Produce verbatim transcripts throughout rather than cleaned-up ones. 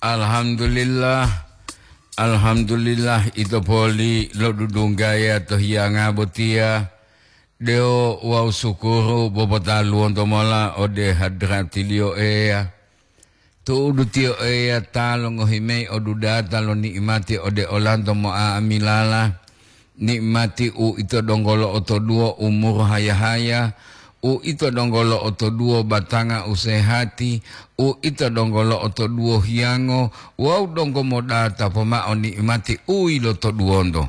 Alhamdulillah, alhamdulillah, ito poli lodudunggaya to hiyanga botiya, dewo wawu sukuru bopotaluwonto mola ode hadratiliyo Eya. Tu'udu tiyo Eya ta longohi mayi odudata lo ni'imati ode olanto mo'a'amilala, ni'imati u ito donggo lo'otoduwo umuru haya-haya, u ito donggo lo'otoduwo batanga u sehati, u ito donggo lo'otoduwo hiyango wawu donggo modata pomao ni'imati u yilotoduwonto.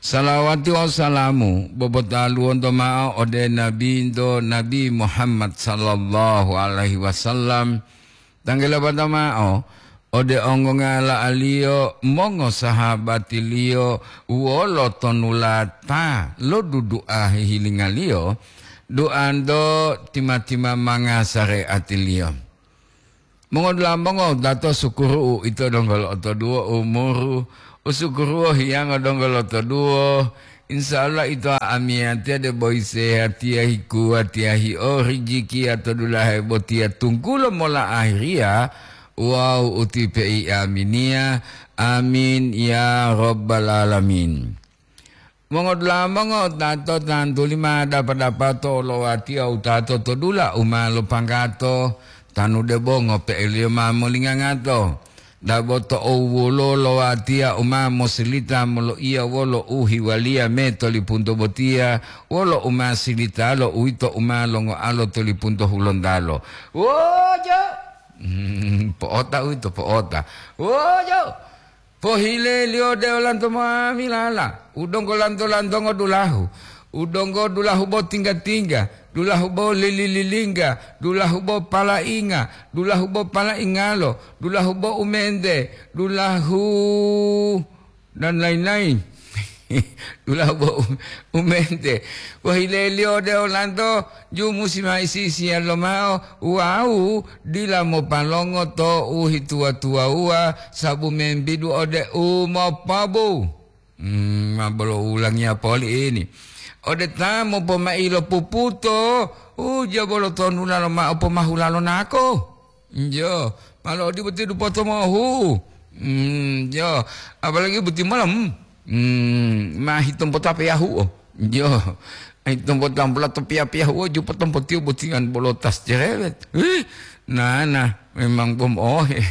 Salawati wawu salamu bobotaluwonto mao ode Nabinto Nabi Muhammad sallallahu alaihi wasallam, tanggelabata mao ode ongongala'aliyo, mongosahabatiliyo wolo tonulata lo dudu'a hihilingaliyo, duanto tima-tima manga sare'atiliyo. Mongodula'a mongowutato, sukuru u ito donggo lo'otoduwo umuru, u sukuruwo hiyango donggo lotoduwo. Insya Allah ito amiyatiya debo isehatiya hikuwatiya hio rijikiya to dulahe botiya tunggulo mola ahiriya wawu utipe'i aminiya. Amin ya rabbal alamin. Mongodula'a mongowutato, tantuli ma dapa-dapato olowatiya wutato to dula u ma lopanggato, tanu debo ngope'eliyo ma molingangato. Dabo to'u wolo lowatiya u ma mosilita moloiya wolo u hiwaliya me tolipunto botiya, wolo u ma silitalo uwito u ma longoalo tolipunto hulontalo. Wojo! Hmm, po'ota uwito, po'ota. Wojo! Pohileliyo ode olanto ma'amilala, u donggo lanto-lantongo dulahu, u donggo dulahu bo tingga-tingga, dulahu bo lili-lilingga, dulahu bo palainga, dulahu bo palaingalo, dulahu bo umente, dulahu dan lain-lain. Dulahu bo u-, umente. Pohileliyo ode olanto, ju musi ma isi-isiya lomao, wawu dila mopalongo to u hituwa-tuwawuwa, sabu membidu ode u mopobu. Hmm, ma bolo ulangiya poli ini. Ode ta mopomai lo puputo, ujiya bolo tonula lomao pomahula lo nako. Njo, malo odi boti dupoto mohu. Hmm, njo, apalagi boti malam. Hmm, ma hitompo ta peyahuo. Njo, hitompo tampola to piya-piyahuo, jupo tompo tiu botingan bolo tas cerewet. Ih, nana, memang bom ohe.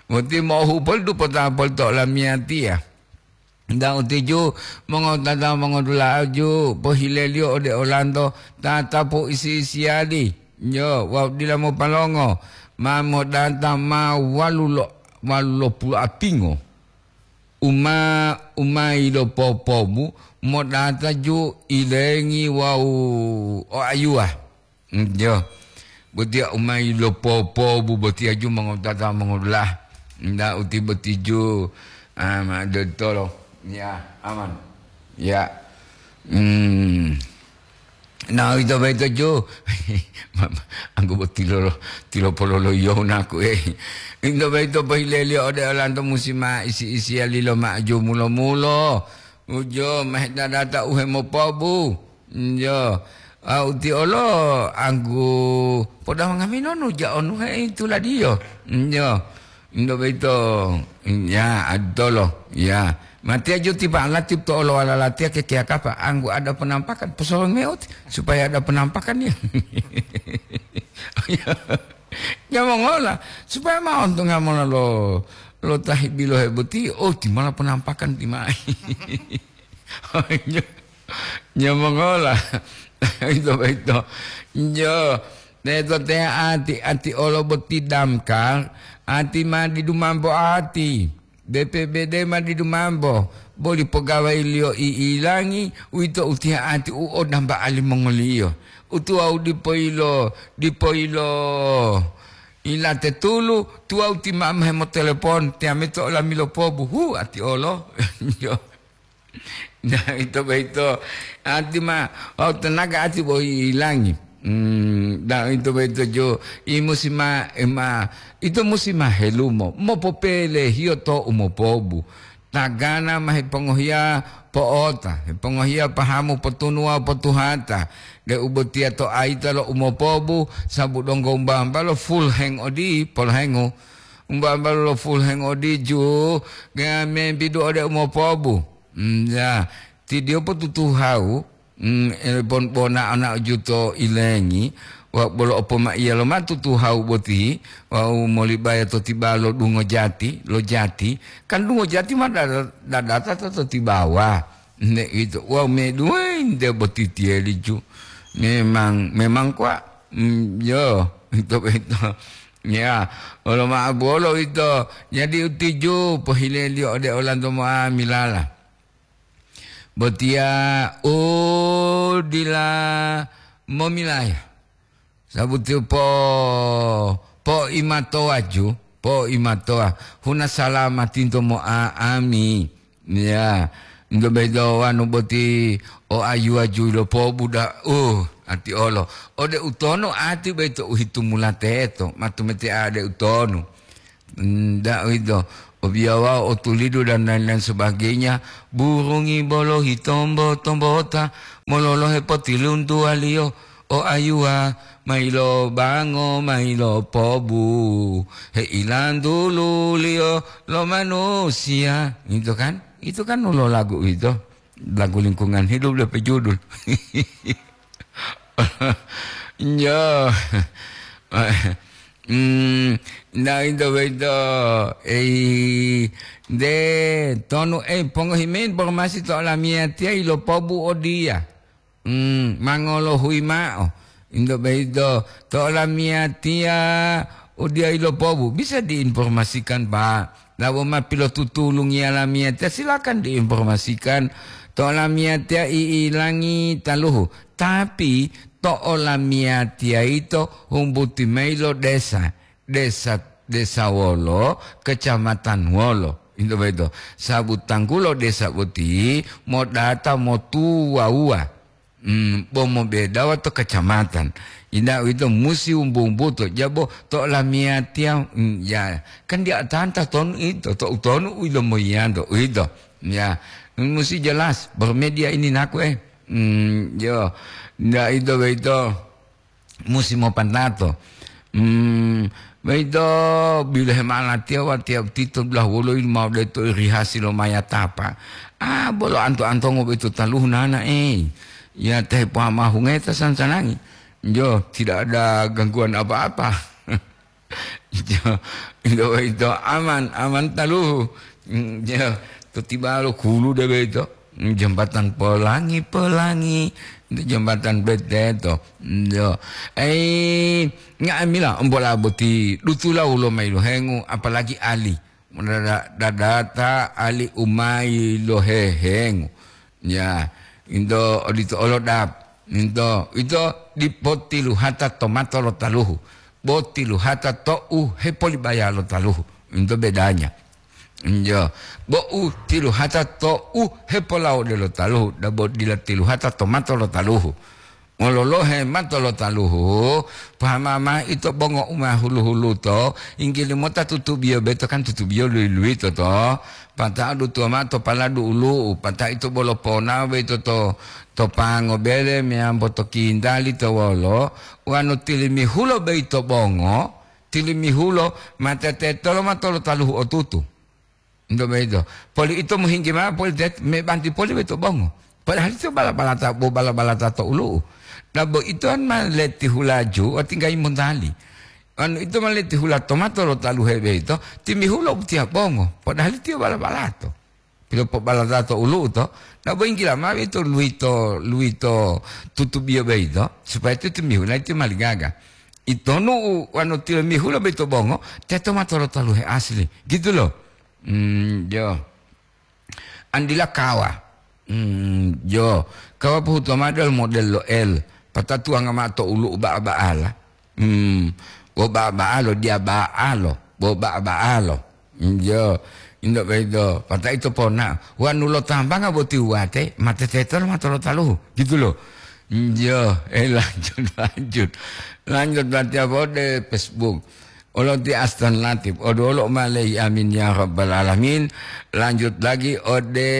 Boti mohu pol dupota pol to lamiyatiya. Nda utiju mongotata mongodula'aju pohileliyo ode olanto tatapu isi-isiyali, njo, wawu dila mopalongo, ma modata ma walulo, walulo pulu apingo. Uma, uma yilopopobu modata ju ilengi wawu oayuwa. Njo. Botiya u ma yilopopobu botiya ju mongotata mongodulah. Nda uti boti ju, ah, ma dotolo. Ya, aman. Ya. Hmm. Na ito boyito ju. Anggo boti lolo, tilopololoyiyo naku, eh. Ito boyito pohileliyo ode olanto musi ma isi-isiya lilo ma'aju mulo-mulo. Ujo, ma hedadata u hemopobu. Njo, a, uti olo anggu poda mangamino nu ja onu he tuladiyo. Njo, ndo boyito, ya, adolo, ya. Matiya ju tipa lati to olo wala latiya kekeya kapa, anggu ada penampakan, posolong me uti, supaya ada penampakan ya. Ya mongola, supaya ma ontonga mola lo, lo tahi bilohe boti, oh, timala penampakan timai. Nyo-, nyomongola. Ito boyito. Njo, teto te ati, ati olo boti damkar, ati ma didu mambo ati. B P B D ma didu mambo, boli pogawaiyo i'ilangi, uwito utiha ati u odamba alimongoliyo. Utuwau dipo yilo, dipo yilo ilate tulu, tuwau ti mama hemotelepon, tiamito olami lopobu, hu, ati olo. Njo. Nah, ito boyito, ati ma, wawu tenaga ati boyi ilangi. Hmm, nah, ito boyito jo, i musi ma, e ma, ito musi ma helumo, mopopelehiyo to umopobu. Tagana ma hepongohiya po'ota, hepongohiya pahamu potunuwa potuhata, deu botiya to ayita lo umopobu, sabu donggo wumba-wumba lo full hang odi, polohengu. Umba-umbalu lo fulheng odiju, ga membidu ode umopobu. Mm, ya, ti diyo potutuhau, mm, e, bon-, bona ana juto ilengi, wa bolo opomaiya lo ma tutuhau boti, wau molibaya to tibalo dungo jati, lo jati, kan dungo jati ma dada-, dadata to, to tibawa. Nde ito, wau meduwe nde boti tiyeli ju. Memang, memang kwa, mm, yo, ito, ito. Ya, olo ma'o bolo ito. Jadi utiju pohileliyo ode olanto mo'amilala. Botiya u dila momilaya. Sabuti po, po'imatowa ju, po'imatowa. Huna salamatinto mo'a'ami. Ya, nto bedo wanu boti o ayuwa ju lo pobuda, uh, ati olo. Ode utono ati beto uhitumula teto, matumete ade utono. Ndak uwito, obiyawa, otulidu, dan lain-lain sebagainya, burungi bolo hitombo-tombota mololohe potiluntuwaliyo, o ayuwa, mailo bango, mailo pobu, heilantuliyo lo manusiya. Itu kan? Itu kan ulo lagu itu. Lagu lingkungan hidup lebih judul. Yo. Hmm, nah, itu, itu. Eh, de, tonu, eh, pongohi mayi informasi to olamiyatiya ilopobu odiya. Hmm, mangolohuyi ma'o. Into boyito, to olamiyatiya odiya ilopobu. Bisa diinformasikan, Pak. Labo ma pilotutulungiya lamiyatiya, silakan diinformasikan. To olamiyatiya i'ilangi taluhu. Tapi, to olamiyatiya yito humbuti mayi lo desa. Desa, desa wolo, kecamatan wolo. Into boyito. Sabu tanggulo desa boti modata motuwawuwa. Hmm, bo mobedawa to kecamatan. Inda uwito musi wumbu-wumbuto. Jabo to olamiyatiya, hmm, ya, kan dia tanta tonu ito, to utonu u ilomoyiyanto, uwito. Ya, musi jelas, bermedia ini naku, eh. Hmm, yo, nda ito boyito musi mopantato. Hmm, boyito bilohe ma'o latiya watiya tito dulahu wolo ilu ma'o deto irihasi lo mayatapa. Ah, bolo anto-antongo boyito taluhu nana, eh. Ya, tehe pohamahunge ta sansanangi. Jo, tidak ada gangguan apa-apa. Jo, ito, ito aman, aman taluhu. Mm, jo, to tibalo kulu de boyito. Mm, jembatan Pelangi, Pelangi. Itu jembatan beteto. Mm, jo. Eh, nga'amila ombola boti dutula wolo mayi lohengu, apalagi ali. Dada-, dadata ali u mayi lohehengu. Ya, into odito olo dap. Into, ito dipo tiluhata to mato lo taluhu. Bo tiluhata to u hepolibaya lo taluhu. Into bedanya. Iyo. Bo u tiluhata to u hepolawode lo taluhu. Dabo dila tiluhata to mato lo taluhu. Mololohe mato lo taluhu, pahama mao ito bongo u ma hulu-huluto, yinggili mota tutubiyo boyito kan tutubiyo luyi-luyito to, pata'o dutuwa mao to paladu ulu'u, pata'o ito bolo ponao boyito to, to pango bele meyambo to kintali to wolo, wonu tilimihulo boyito bongo, tilimihulo ma tetetolo mato lo taluhu otutu. Nto boyito. Poli ito mohinggi mao poli tet-, mebanti poli boyito bongo. Padahal ito bala-balata, bo bala-balata to ulu'u. Nah, bo ito an ma leti hulaju, o tinggayi montali. Anu ito ma leti hula to mato lo taluhe boyito, timihulo utiya bongo. Padahal ito bala-balato. Pilopobalata to ulu'u to. Nah, bo yinggila mao ito luwito, luwito tutubiyo boyito, supaya ito timihula ito maligaga. Itonu u wanu tilimihulo boyito bongo, teto mato lo taluhe asli. Gitu lo. Hmm, jo. Andila kawa. Hmm, jo. Kawa pohutuwa mao dol model lo L. Patatuwanga mao to ulu'u ba'a-ba'ala. Hmm, bo ba'a-ba'alo, diya ba'alo. Bo ba'a-ba'alo. Hmm, jo. Indo boyito. Pata'o ito pona. Wanu lo tambanga boti wuwate, ma tetetolo mato lo taluhu. Gitu lo. Hmm, jo. Eh, lanjut, lanjut. Lanjut, latihan ode Facebook. Olo ti Aston Latif, odolo ma lei, amin ya rabbal alamin. Lanjut lagi ode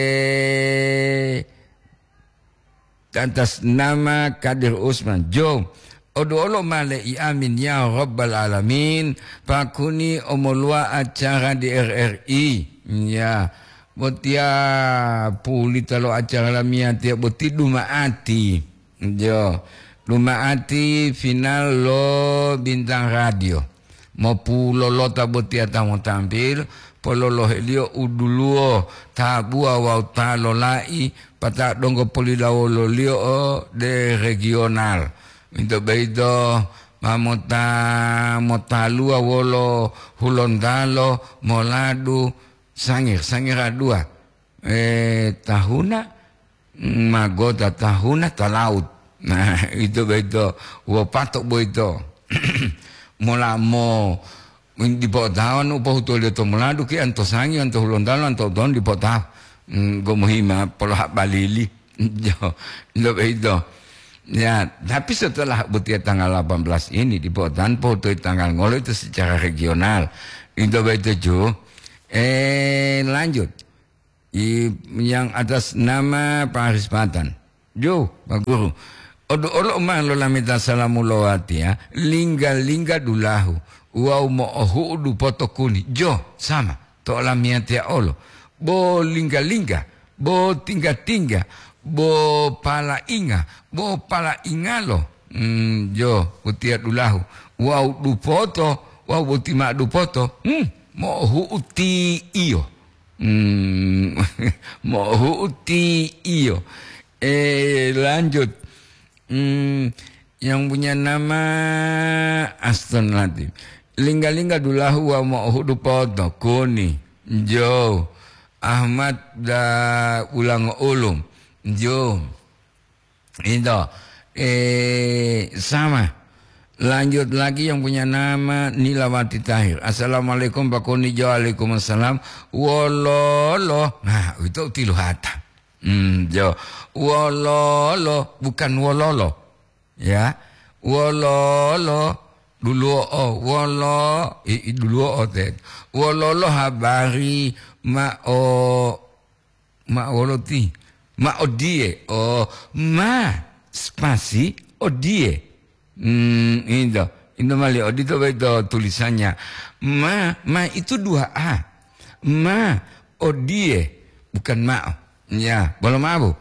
atas nama Kadir Usman. Jo, Oduolo male i amin ya rabbal alamin, pakuni omoluwa acara di R R I. Ya, botiya pulita lo acara lamiyatiya boti duma'ati. Jo, duma'ati final lo Bintang Radio. Mopulolota botiya ta motampil, pololohe-Liyo u duluwo, tabuwa wawu ta lolai, pata donggo polilawolo-Liyo ode regional. Uwito boyito ma mota-, motaluwa wolo Hulontalo, Moladu, Sangir, Sangir a dua. Eh, tahuna, magota tahuna ta laut. Nah, ito boyito, wopato boyito. Mola mo, dipo otawa nu pohutuliyo to Moladu ki anto Sangir, anto Hulontalo, anto Udon dipo otawa. Mm, gomohima polo hak balili. Jo, ito boyito. Ya, tapi setelah botiya tanggal delapan belas ini dipo otawa pohutuliyo tanggal ngolo itu secara regional. Ito boyito ju. Eh, lanjut. I-, yang atas nama Pak Haris Patan. Jo, Pak Guru. Odu olo ma lolameta salamu lo watiya, lingga-lingga dulahu, wawu mo'ohu'u dupoto kuni. Jo, sama, to olamiyatiya olo. Bo lingga-lingga, bo tingga-tingga, bo palainga, bo palaingalo. Hmm, jo, utiya dulahu. Wawu dupoto, wawu boti ma'o dupoto. Hmm, mo'ohu'u ti iyo. Hmm, mohu'u ti iyo. Eh, lanjut. Hmm, yang punya nama Aston Latif. Lingga-lingga dulahu wa mohudu poto, kuni, jo, Ahmad da ulango ulum, jo. Itu, eh, sama. Lanjut lagi yang punya nama Nilawati Tahir. "Assalamualaikum, Pak Kuni." Jo, "Waalaikumsalam." "Wololo." Nah, itu tiluhata. Hmm, jo. "Wololo," bukan wololo. Ya. "Wololo." Duluo'o. Wolo-, i, i, duluo'o te. "Wololo habari ma'o." Ma wolo ti? Ma odiye. Oh, ma spasi odiye. Hmm, itu. Itu mali odito boyito tulisannya. Ma, ma itu dua A. Ma odiye, bukan ma'o. Ya, bolo mabu.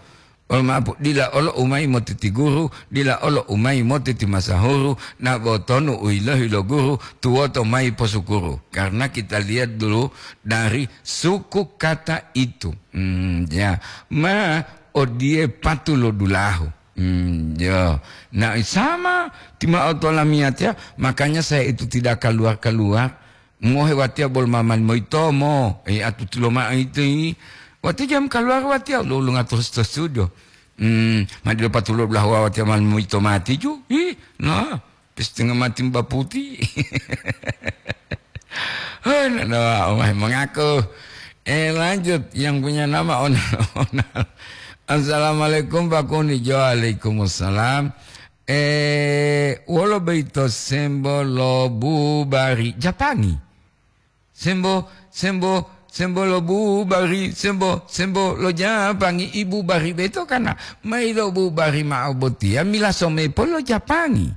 Bolo mabu. Dila olo umayi motiti guru, dila olo umayi motiti masahuru, na botonu u yilohi lo guru, tuwoto mayi posukuru. Karena kita lihat dulu dari suku kata itu. Hmm, ya. Ma odiye patulodulahu. Hmm, ya. Nah, sama tima'o to lamiyatiya, makanya saya itu tidak keluar-keluar. Ngohe watiya bolo mamani moyitomo, eh, atutulo ma'o ito yi. Watiya jam keluar watiya, lo, lo ngatur sto studio. Hmm, ma dilo patulodulahu watiya mani moyito mati ju. Ih, nah. Setengah mati Mbak Putih. Hai, nana, oh, mengaku. Eh, lanjut, yang punya nama Onal-Onal. "Assalamualaikum, Pak Kuni." Jo, "Waalaikumsalam." Eh, wolo boyito sembo lo bubari Japangi? Sembo, sembo, sembo lo bubari, sembo, sembo lo Japangi, ibu bari beto kana, mayi lo bubari ma'o botiya, milaso mepo lo Japangi.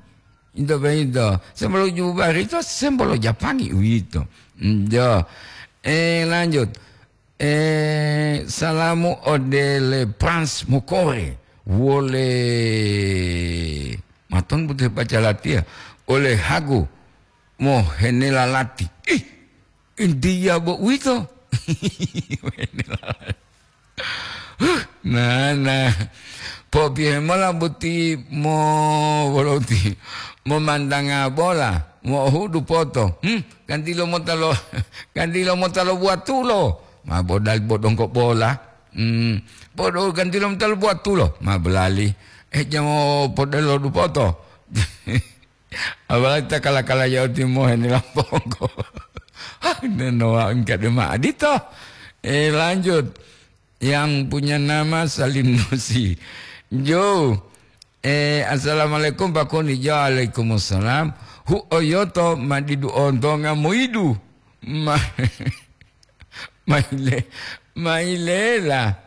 Into boyito, sembo lo bubari to, sembo lo Japangi uwito. Njo. Eh, lanjut. Eh, salamu ode le Prince Mokore. Wole. Maton butuh baca latiya. Ole Hago. Mohenela lati. Ih, India bo uwito. Nah, nah. Popiye mola boti mo-, wolo boti momandanga bola, mohudu poto. Hmm, ganti lo mota lo, ganti lo mota lo buatulo. Ma bodali bodongko bola. Hmm, podo ganti lo mota lo buatulo. Ma bolali. Eh, jamo podelo dupoto. Apalagi ta kala-kala yau timohe ni lampongko. Hah, nenowa engka dema adito. Eh, lanjut. Yang punya nama Salim Nusi. Jo. Eh, "Assalamualaikum, Pak Kuni." Jo, "Waalaikumsalam." "Hu oyoto madidu ontonga moidu." Ma-, maile-, mailela.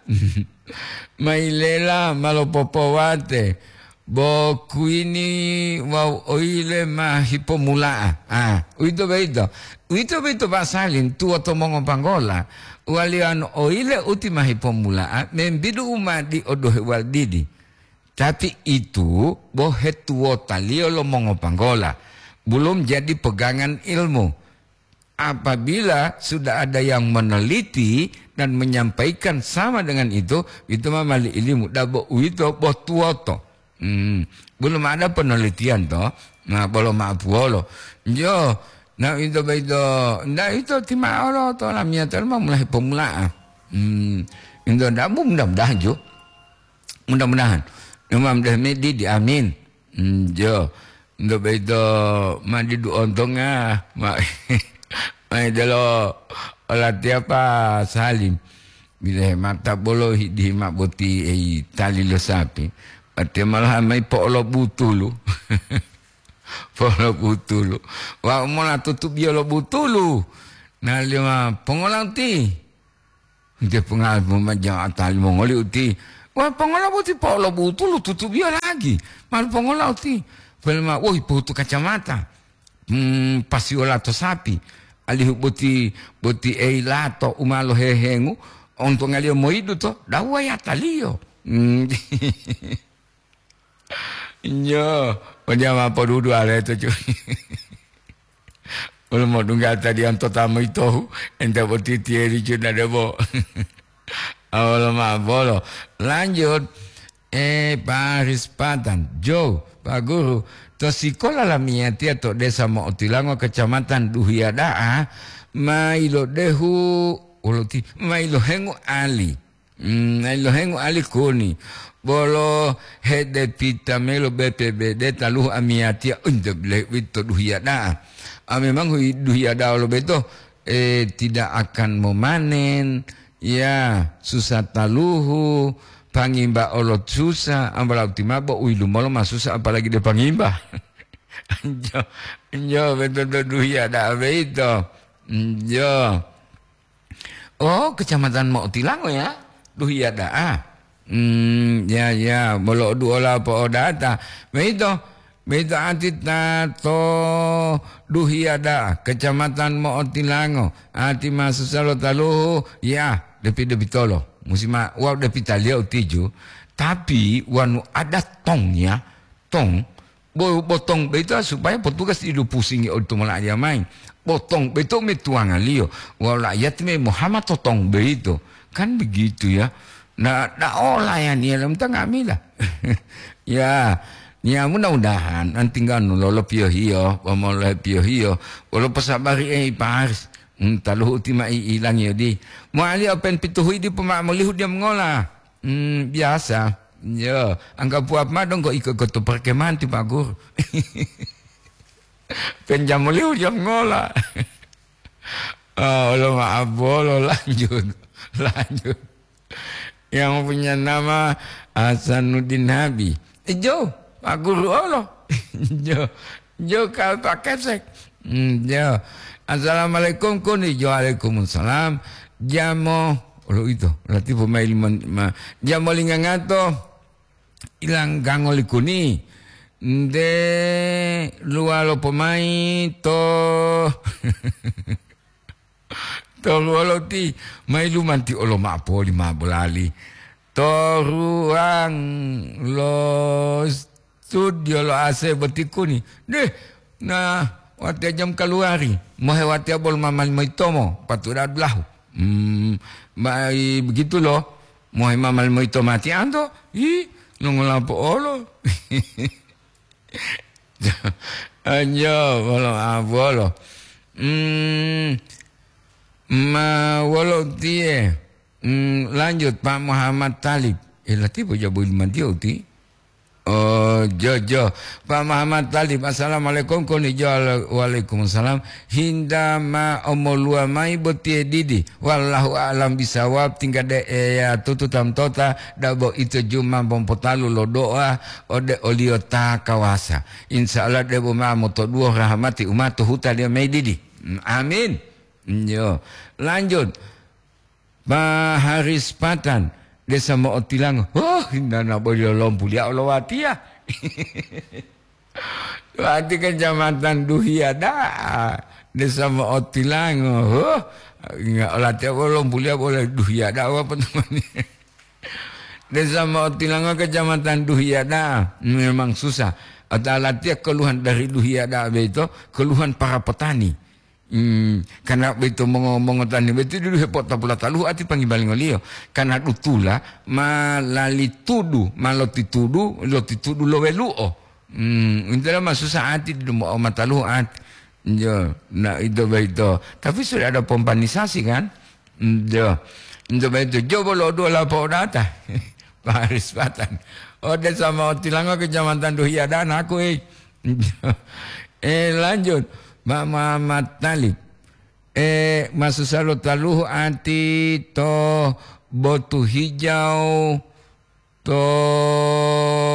Mailela ma lopopowate. Bo kuini wawu oyile ma hipomula'a. Ah, uwito boyito. Uwito boyito Pak Salim, tuwoto mongopanggola. Waliyano oyile uti ma hipomula'a, membidu u ma diodohe waldidi. Tapi itu bo hetuwotaliyo lo mongopanggola. Belum jadi pegangan ilmu. Apabila sudah ada yang meneliti dan menyampaikan sama dengan itu, itu ma mali ilimu. Dabo uwito bo tuwoto. Hmm, belum ada penelitian to. Nah, bolo ma'apuwolo. Jo, na ito boyito, nda ito tima'olo to lamiyatiya ma mulahe pomula'a. Hmm, ito dabu mudah-mudahan jo. Mudah-mudahan. Imam Dahmedi di amin. Hmm, jo. Ito boyito ma didu ontonga, ma, ma idelo olatiya Pak Salim. Bilahe mata bolo hi-, dihima boti ei tali lo sapi. Watiya malahan mayi po'olobutulu. Po'olobutulu. Wa'u mola tutubiyo lo butulu. Naliyo ma pongola uti. Nte pongal pemaja'ata limongoli uti. Wah, pongola boti po'olobutulu tutubiyo lagi. Malu pongola uti. Pelema, woi, pohutu kacamata. Hmm, pasiyo lato sapi. Alihu boti, boti ei lato u ma lohehengu, ontongaliyo moyidu to, dawuwa yataliyo. Hmm. Nyo, odiya ma podudu aleto, cu. Wolo modungga tadiyanto ta moyitohu, enta boti tiyeri, cu, na debo. Awolo ma bolo. Lanjut. Eh, Pak Rispatan, Jo, Pak Guru, to sikola lamiyatiya to Desa Mo'otilango, Kecamatan Duhiya da'a, ma ilodehu, wolo ti, ma ilohengu ali. Hmm, ma ilohengu ali kuni. Bolo hedepita melo B P B D taluhu amiyatiya, unte bile uwito Duhiya da'a. A, memang hui-, Duhiya da'a lo beto, eh, tidak akan memanen, ya, susah taluhu, pangimba olo susah, ambala uti mabo u yilumolo ma susah, apalagi de pangimba. Njo, njo, betul-betul Duhiya da'a beito. Njo. Oh, Kecamatan Mo'otilango ya? Duhiya da'a. Hmm, ya, ya, bolo duola po'odata. Beito, beito ati ta to Duhiya da'a, Kecamatan Mo'otilango. Ati ma susah lo taluhu, ya, depi-depitolo. Musi ma, wau depitaliyo utiju. Tapi wanu ada tong ya, tong, bo-, botong boyito supaya petugas didu pusingi odito mola'aliya mayi. Botong boyito metuwangaliyo, wawu la'iyati me mohama to tong boyito. Kan begitu ya. Nah, daola ya niya lam ta nga'amila. Ya, ya mudah-mudahan antingganu lolo piyohiyo, wamolohe piyohiyo, wolo posabari ei Pak Haris. Hmm, taluhu uti ma i-, ilangiyo di. Mo'aliyo pen pituhuyi dipo ma'o molihu diya mongola. Hmm, biasa. Yo, angga puwap ma donggo iko-iko to perkemahan ti Pak Guru. Penjamo lihu jam ngola. Oh, lo maaf bolo, lanjut. Lanjut. Yang punya nama Hasanuddin Habi. Eh, Jo, Pak Guru olo. Jo, Jo kal Pak Kesek. Hmm, Jo. Assalamualaikum, kuni. Jo, waalaikumsalam. Jamo, olo ito, latifu maili mon-, ma-, jamo lingangato, ilang gango likuni. Nde luwalo pomai to, to luwalo ti, mai lumanti olo ma'o poli ma bolali. To ruang lo studio lo A C boti kuni. Deh, nah, watiya jam kaluwari, mohe watiya bolo mamali moyitomo, patuda dulahu. Hmm, bai begitu lo, mohe mamali moyitomo ati anto, hi, nongolapo olo. Anjo, bolo, ah, bolo. Hmm, ma wolo tiye? Hmm, lanjut, Pak Muhammad Talib. Eh, latipu jabu limantiyo uti. Oh, Jo, Jo. Pak Muhammad Talib, assalamualaikum, konijo, waalaikumsalam. Hinda ma omoluwa mayi botiye didi. Wallahu a'lam bisawab, tingga de Eya tutu tamtota, dabo ito juma pompotalu lo do'a ode oliyo ta kawasa. Insya Allah debo ma motoduwo rahamati umatu hutaliyo mayi didi. Amin. Yo. Lanjut. Pak Haris Patan, Desa Mo'otilango. Oh, hinana boli lolompuliya olowatiya. Wati Kecamatan Duhiya da'a, Desa Mo'otilango. Huh, nga-, olatiya wolo lombuliya wolo Duhiya da'a, apa namanya? Desa Mo'otilango, Kecamatan Duhiya da'a, memang susah. Atau latiya keluhan dari Duhiya da'a beito, keluhan para petani. Hmm, karena beito mongo-, mongotani beito dulu hepotapula taluhu ati pangibalingoliyo. Karena dutula ma lali tudu, ma lotitudu, lotitudu lo welu'o. Hmm, intelo ma susah ati dulu mo-, mataluhu ati. Yo, na ito beito. Tapi sudah ada pompanisasi kan? Hmm, yo. Ito beito. Jobo lo dua lapo data. Paris Patan. Ode sama otilango Kecamatan Duhiya dan aku, eh. Eh, lanjut. Pak Muhammad Talib. Eh, masusa lo taluhu ati to Botu Hijau, to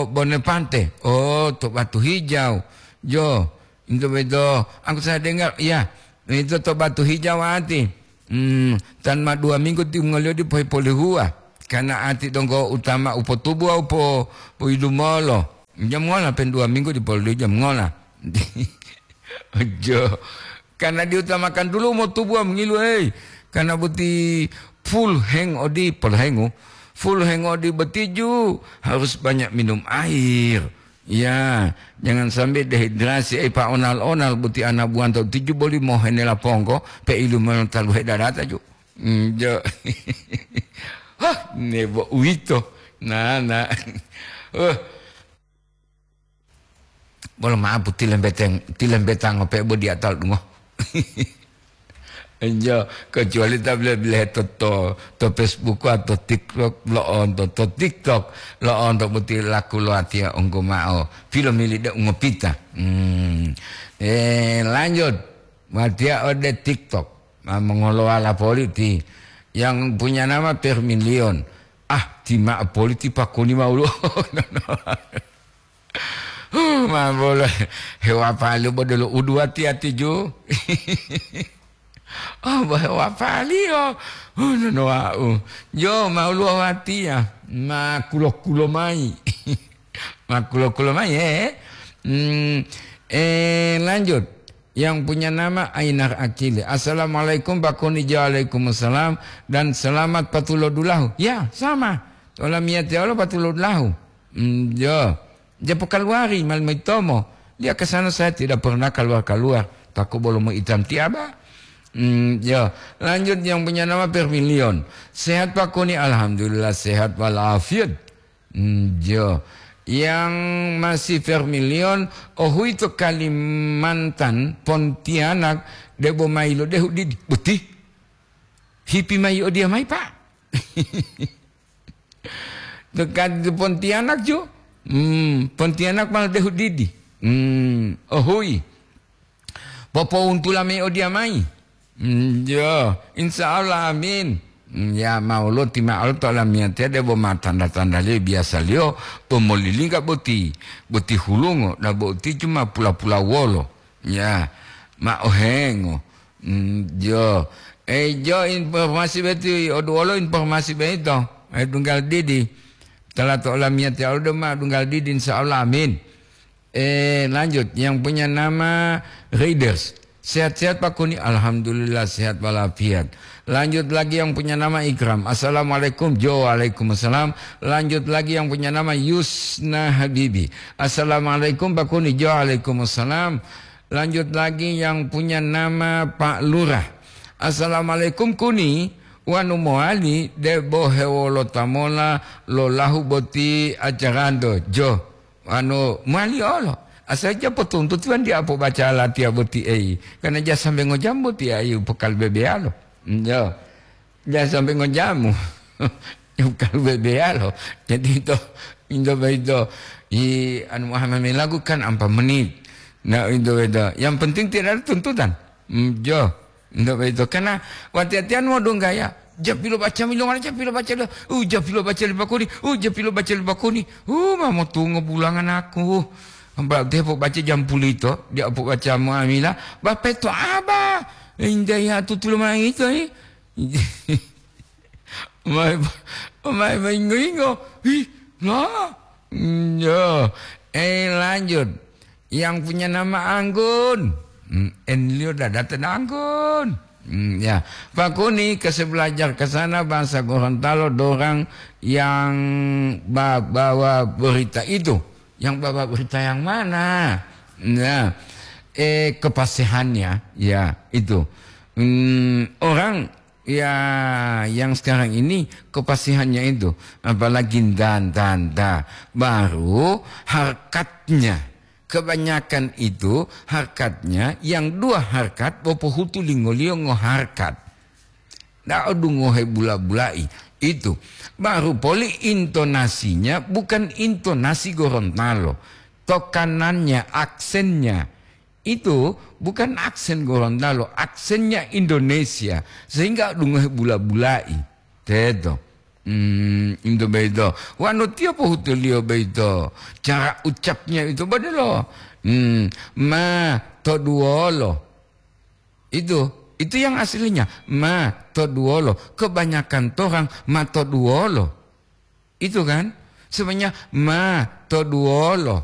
Bonepante. Oh, to Batu Hijau. Jo, itu beto. Aku saya dengar, iya, itu to Batu Hijau ati. Hmm, tan ma dua minggu timongoliyo dipo-, dipolihuwa. Karena ati donggo utama upotubu upo, upo idumolo. Jam ngola pen dua minggu dipolihuwa jam ngola. Jo. Karena diutamakan dulu mau tubuh mengilu, hei. Karena boti full heng odi, pol hengu. Full heng odi boti ju harus banyak minum air. Ya, jangan sampai dehidrasi, eh, pa onal-onal boti anak buah tau tujuh boli mau henela pongko, pe ilu melo talu hedarata ju. Hmm, jo. Hah, nebo uwito. Nah, nah. Wah. Bolo maapu tilembeteng-, tilembetango pe bo diatal dungo. Enjo, kecuali ta bile-bile to, to, to Facebook atau TikTok, lo'onto to TikTok, lo'onto boti laku lo atiya onggo ma'o. Pilomili de ungopita. Hmm. Eh, lanjut. Watiya ode TikTok. Ma mongolowala politi. Yang punya nama Permilion. Ah, ti ma'o politi pakuni ma'o lo. Huh, ma bolo hewapaliyo bo delo uduwati-ati ju. Oh, bo hewapaliyo. Huh, nono wa'u. Jo, ma uluwawatiya. Ma kulo-kulo mayi. Ma kulo-kulo mayi, eh. Hmm, eh, lanjut. Yang punya nama Ainar Akili. Assalamualaikum, Pak Kuni. Waalaikumsalam. Dan selamat patulodulahu. Ya, sama. Olamiyatiya olo patulodulahu. Hmm, jo. Japo kaluwari, mal maitomo. Dia ke sana saya tidak pernah keluar-keluar. Takut bolomo itam tiaba. Hmm, ya. Lanjut yang punya nama Permilion. Sehat Pak Kuni? Alhamdulillah sehat walafiat. Hmm, ya. Yang masih Permilion, ohuito Kalimantan, Pontianak, debo mailo dehu didi. Beti. Hipi mai odiya mai, Pak. Dekat Pontianak ju. Hmm, Pontianak malah dehu didi. Hmm, ohui. Popountula mai odiya mai. Hmm, yo, insya Allah, amin. Hmm, ya, mau lo ti ma'o to lamiyatiya debo ma tanda-tandaliyo biyasaliyo to molilingga boti, boti hulungo, na boti cuma pula-pula wolo. Ya, ma ohengo. Mm, jo. Eh, jo informasi beti, odu wolo informasi beito. Eh, dunggal didi. Telah to olamiyatiya olo dema dunggal didi, insya Allah, amin. Eh, lanjut. Yang punya nama Raiders. Sehat-sehat, Pak Kuni? Alhamdulillah, sehat walafiat. Lanjut lagi yang punya nama Ikram. Assalamualaikum. Jo, waalaikumsalam. Lanjut lagi yang punya nama Yusna Habibi. Assalamualaikum, Pak Kuni. Jo, waalaikumsalam. Lanjut lagi yang punya nama Pak Lurah. Assalamualaikum, Kuni. Wanu mowali debo hewolota mola lo lahu boti acaranto. Jo, wanu mowali olo. Asal ja potuntuti wan dia pobaca latiya boti ei. Karena ja sambe ngojam boti ayu pokal bebeyalo. Jo. Jangan sampai ngojamu. Bukan bebeyalo. Jadi itu, itu, itu, i, anu, Muhammad lagu kan empat menit. Nah, itu, itu. Yang penting tidak ada tuntutan. Hmm, jo. Itu, itu. Karena wati-watian mau dong gaya. Japilo baca milongan, japilo baca lo. Uh, japilo baca lipakuni. Uh, japilo baca lipakuni. Uh, mamo tungo bulangan aku. Mbak teh po baca jampulito, dia po baca muamilah. Bapeto aba. Indah ya tutulo manangito, eh. Mai, mai maingo-ingo. Ih, la. Mm, ya. Eh, lanjut. Yang punya nama Anggun. Hmm, enliyo dadata Anggun. Hmm, ya. Pakuni kasih belajar ke sana bahasa Gorontalo dorang yang ba- bawa berita itu. Yang bawa berita yang mana? Nah, eh, kepastihannya, ya, itu. Hmm, orang, ya, yang sekarang ini kepastihannya itu, apalagi nda, nda, nda. Baru harkatnya. Kebanyakan itu harkatnya yang dua harkat, bopohutu lingoliyo ngoharkat. Nda odungohe bula-bulai. Itu. Baru poli intonasinya bukan intonasi Gorontalo. Tokanannya, aksennya. Itu bukan aksen Gorontalo, aksennya Indonesia. Sehingga dungohe bula-bulai. Teto. Hmm, itu beito. Wanu tiyo pohutuliyo beito. Cara ucapnya itu badelo. Hmm, ma toduwolo. Itu, itu yang aslinya. Ma toduwolo. Kebanyakan torang ma toduwolo. Itu kan? Sebenarnya ma toduwolo.